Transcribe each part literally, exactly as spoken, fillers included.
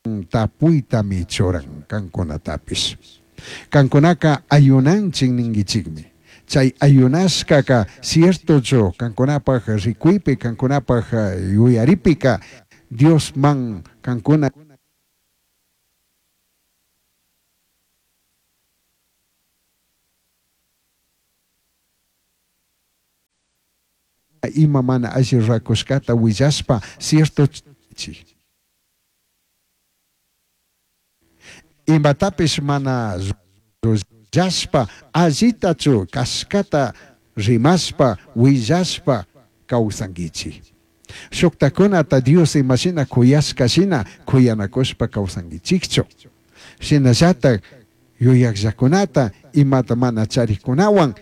Tapuitami churan kankunatapish. Kankunaka ayunanchik ninkichikmi. Chay ayunashkaka ciertochu kankunapaj rikuypi, kankunapaj yuyaripika Diosman kankuna ima mana alli rurakushkata willashpa cierto imatapish mana rurashpa allitachu kashkata rimashpa willashpa kawsankichik. Shuktakunata Dios imashina kuyashka shina kuyanakushpa kawsankichikchu. Shinallatak yuyakllakunata imata mana charikunawan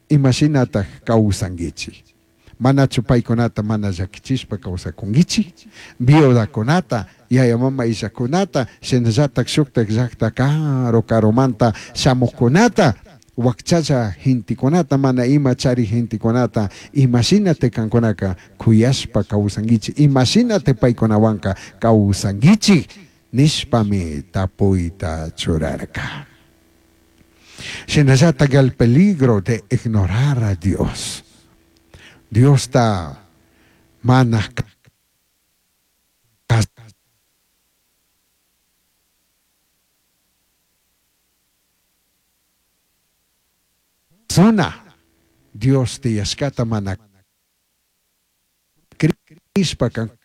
imashinatak kawsankichik. Manachu paykunata mana llakichishpa kawsakunkichik. Viudakunata, yaya mama illakunata, shinallatak shuktak llakta karu karumanta shamuqkunata, wakchalla gentekunata, mana ima chari gentekunata, imashinata kankunaka kuyashpa kawsankichik, imashinata paykunawanka kawsankichik nishpami tapuyta churarka. Shinallatak el peligro de ignorar a Dios. Diosta mana kasuna, Dios tiyashkata mana crishpa kankuna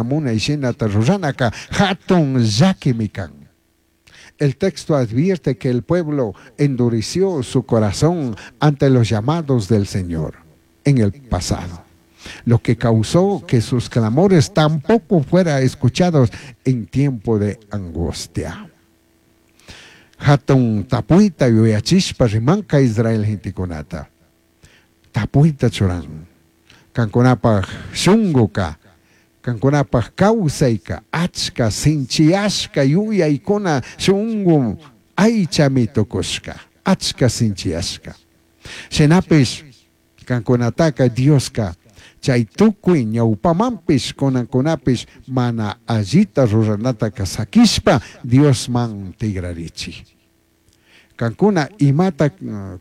munay shinata ruranaka hatun llakimi kan. El texto advierte que el pueblo endureció su corazón ante los llamados del Señor en el pasado, lo que causó que sus clamores tampoco fueran escuchados en tiempo de angustia. Hatun tapuita yuyachishpa rimanka Israel gentekunata. Tapuita churan. Kankunapaj shunguka, kankunapaj kawsayka, achka sinchiyashka yuyaykuna shungu aychami tukushka, achka sinchiyashka. Shinapish kankunataka Dioska chay tukuy ñawpamanpish kunankunapish mana allita ruranataka sakishpa Diosman tigrarichik. Kankuna imata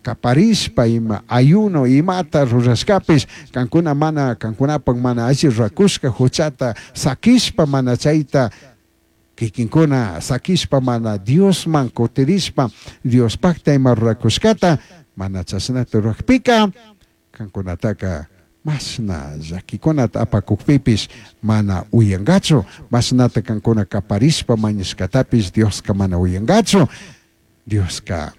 kaparishpa ima ayuno imata rurashkapish kankuna mana kankunapak mana alli rurakushka huchata sakishpa mana chayta kikinkuna sakishpa mana Diosman kutirishpa Diospakta ima rurakushkata mana chashnata rurakpika kankunataka mashna llakikunata apakukpipish mana uyankachu, mashnata kankuna kaparishpa mañashkatapish Dioska mana uyankachu. Dioska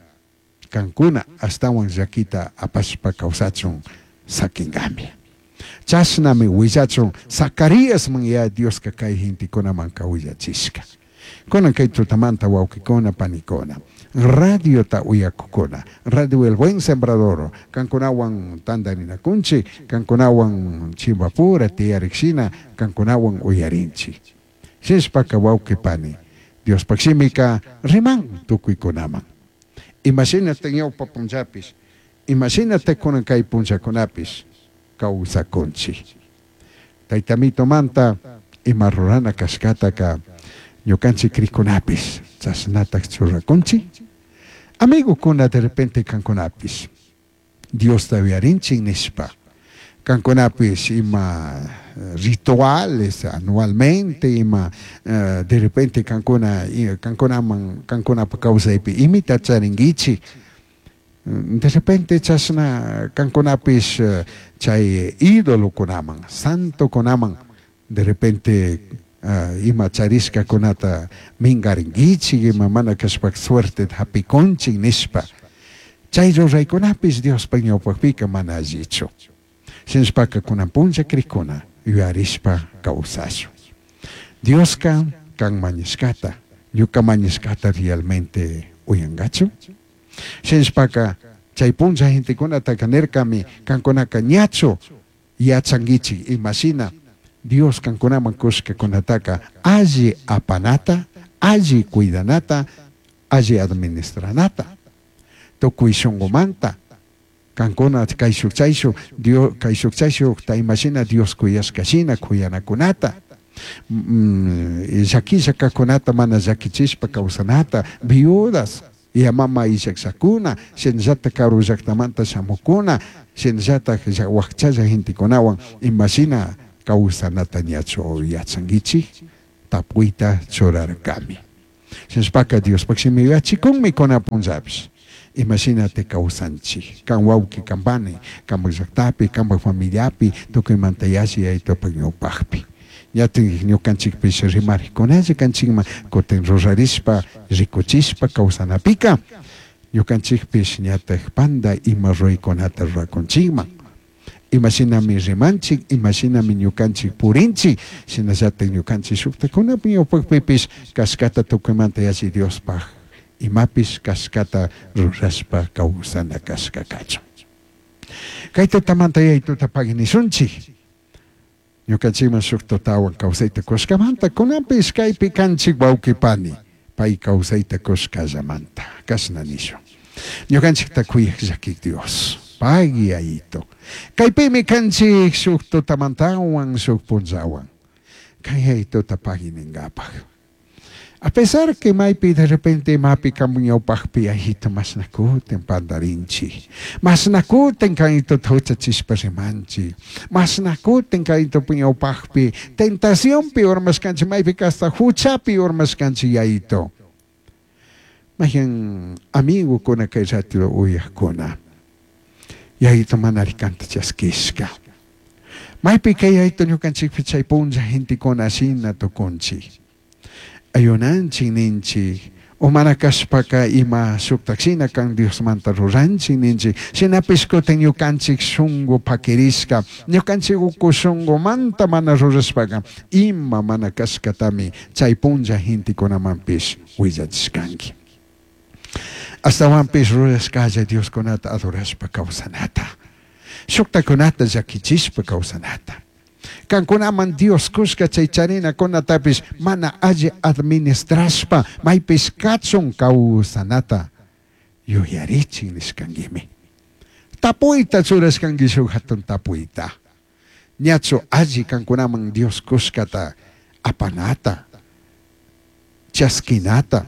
kankuna ashtawan llakita apashpa kawsachun sakinkami. Chashnami willachun Zacaríasman ya Dioska kay gentekunamanka willachishka. Kunan kay tutamanta wawqikuna panikuna, radiota uyakukuna, Radio El Buen Sembrador, kankunawan tantarinakunchik, kankunawan chimbapura tiyarikshina, kankunawan uyarinchik. Shishpaka wawqi pani, Diospaq shimika riman tukuykunaman. Imashinata ñawpa punllapish, imashinata kunan kay punllakunapish kawsakunchik. Taytamitomanta ima rurana kashkataka ñukanchik krikunapish chashnatak churakunchik. Amigokuna de repente kankunapish Diosta uyarinchik nishpa kankunapish ima rituales anualmente ima uh, de repente kankuna kankunaman kankunapa kawsaypi imita charinkichik. De repente chashna kankunapish chay ídolokunaman santokunaman de repente uh, ima charishkakunata minkarinkichik ima mana kashpak suerte hapikunchik nishpa chay ruraykunapish Diospaq ñawpaqpika mana allichu. Shinashpaka kunan punlla krikuna yuyarishpa kawsashun. Dioska kan mañashkata, ñuka mañashkata realmente uyankachu. Shinashpaka chay punlla gentekunataka nirkami kankunaka ñachu yachankichik imashina Dios kankunaman kushkakunataka alli apanata, alli cuidanata, alli administranata. Tukuy shunqumanta, Kankuna kayshuk chayshuk Dios kayshuk chayshukta imashina Dios kuyashkashina kuyanakunata. Llakilla kajkunata mana llakichishpa kawsanata, viudas, mama illakllakuna, shinallata karu llaktamanta shamukuna, shinallata wakchalla gentekunawan imashina kawsanata ñachu yachankichik tapuyta churarkami. Shinashpaka Diospaj shimi yuyachikunmi kunan punllapish. Imashinata kawsanchik, kan wawki kan pani, kanpak llaktapi, kanpak familiapi, tukuymanta yalli Yayitupak ñawpakpi. Ñatin ñukanchikpish rimarikkunalla kanchikman kutin rurarishpa rikuchishpa kawsanapika ñukanchikpish ñatak panda ima ruraykunata rurakunchikman. Imashinami rimanchik, imashinami ñukanchik purinchik, shinallatak ñukanchik shuktakunapi ñawpakpipish kashkata tukuymanta yalli Diospaj imapish kashkata rurashpa kawsana kashka kachun. Kay tutamanta Yayituta pagui nishunchik. Ñukanchikman shuk tutawan kawsayta kushkamanta kunanpish kaypi kanchik wawqi pani, pay kawsayta kushkallamanta kashna nishun. Ñukanchikta kuyaj llakik Dios, pagui Yayito. Kaypimi kanchik shuk tutamantawan shuk punllawan. Kay Yayituta pagui ningapaj. A pesar que maypi de repente mapi kanpak ñawpakpi Yayito mashnakutin pandarinchik, mashnakutin kayituta huchachishpa rimanchik, mashnakutin kayitupa ñawpakpi tentacionpi urmashkanchik, maypika hasta huchapi urmashkanchik Yayito. Mayan amigokuna kay rato uyakuna, Yayito manari kanta chaskishka. Maypi kay Yayito ñukanchikpi chay punlla gentekuna shina tukunchik. Ayunanchik ninchik, o mana kashpaka ima shuktak shina kan Diosmanta ruranchik ninchik, shinapish kutin ñukanchik shunku pakirishka, ñukanchik uku shunkumanta mana rurashpaka ima mana kashkatami chay punlla gentekunamanpish willachishkanki. Ashtawanpish rurashkalla Dioskunata adorashpa kawsanata, shuktakunata llakichishpa kawsanata. Kankunaman Dios kushka chay charinakunatapish mana alli administrashpa maypish kachun kawsanata yuyarichin nishkankimi. Tapuyta churashkanki shuk hatun tapuyta. Ñachu alli kankunaman Dios kushkata apanata, chaskinata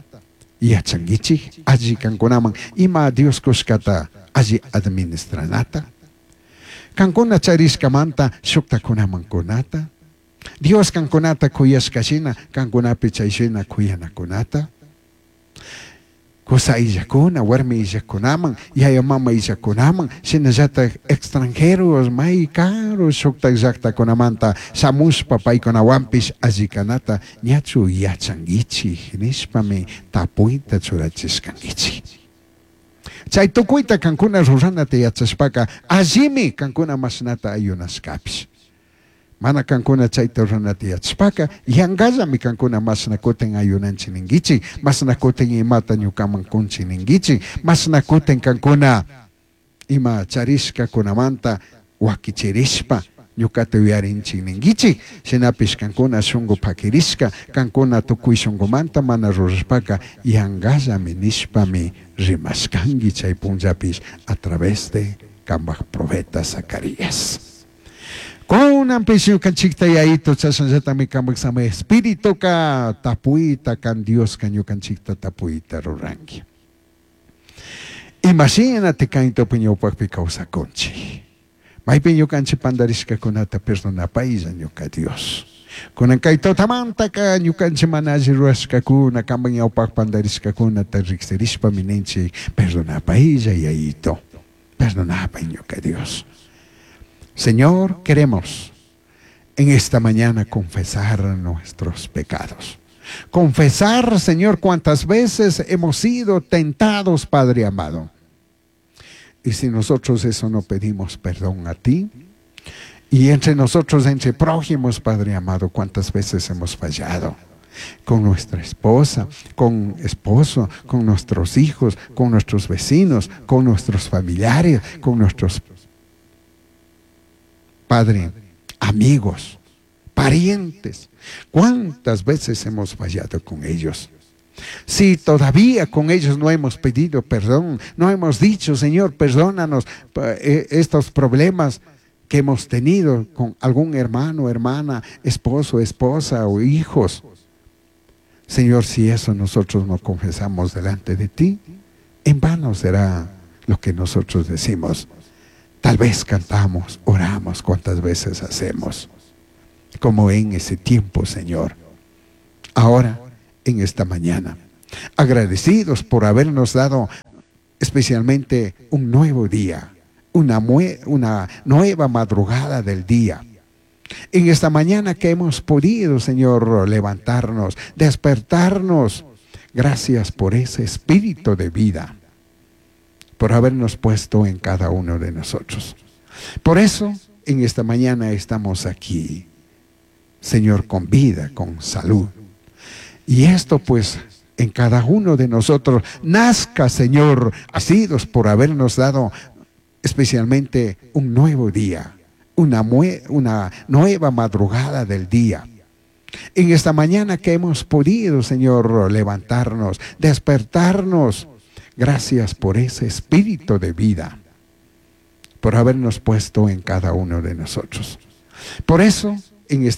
yachankichik alli kankunaman ima Dios kushkata alli administranata. Kankuna charishkamanta shuktakunaman kunata, Dios kankunata kuyashkashina kankunapi chayshina kuyanakunata, kusa illakuna, warmi illakunaman, yaya mama illakunaman, shinallatak extranjeros may karu shuktak llaktakunamanta shamushpa paykunawanpish allikanata ñachu yachankichik nishpami tapuyta churachishkankichik. Chay tukuyta kankuna ruranata yachashpaka allimi kankuna mashnata ayunashkapish. Mana kankuna chayta ruranata yachashpaka yankallami kankuna mashna kutin ayunanchik ninkichik, mashna kutin imata ñukaman kunchik ninkichik, mashna kutin kankuna ima charishkakunamanta wakichirishpa ñukata yuyarinchik ninkichik, shinapish kankuna shunku pakirishka, kankuna tukuy shunkumanta mana rurashpaka yankallami nishpami rimashkanki chay punllapish a través de kanpak profeta Zacarías. Kunanpish ñukanchikta Yayito chashnallatami kanpak sama espirituka tapuyta kan Dioska ñukanchikta tapuyta ruranki. Imashinati kaytupi ñawpakpi kawsakunchik. Maypi ñukanchik pandarishkakunata perdonapaylla ñuka Dios. Kunan kay tutamantaka ñukanchik mana alli rurashkakuna, kanpak ñawpak pandarishkakunata riksirishpami ninchik perdonapaylla Yayito, perdonapay ñuka Dios. Señor, queremos en esta mañana confesar nuestros pecados. Confesar, Señor, cuántas veces hemos sido tentados, Padre amado. Y si nosotros eso no pedimos perdón a ti, y entre nosotros, entre prójimos, Padre amado, cuántas veces hemos fallado con nuestra esposa, con esposo, con nuestros hijos, con nuestros vecinos, con nuestros familiares, con nuestros padre, amigos, parientes. ¿Cuántas veces hemos fallado con ellos? Si todavía con ellos no hemos pedido perdón, no hemos dicho, Señor, perdónanos eh, estos problemas que hemos tenido con algún hermano, hermana, esposo, esposa o hijos. Señor, si eso nosotros no confesamos delante de ti, en vano será lo que nosotros decimos. Tal vez cantamos, oramos, cuantas veces hacemos, como en ese tiempo, Señor. Ahora, en esta mañana, agradecidos por habernos dado especialmente un nuevo día, una, una nueva madrugada del día. En esta mañana que hemos podido, Señor, levantarnos, despertarnos. Gracias por ese espíritu de vida, por habernos puesto en cada uno de nosotros. Por eso, en esta mañana estamos aquí, Señor, con vida, con salud. Y esto pues en cada uno de nosotros nazca, Señor, asidos por habernos dado especialmente un nuevo día, una, una nueva madrugada del día. En esta mañana que hemos podido, Señor, levantarnos, despertarnos. Gracias por ese espíritu de vida, por habernos puesto en cada uno de nosotros. Por eso, en esta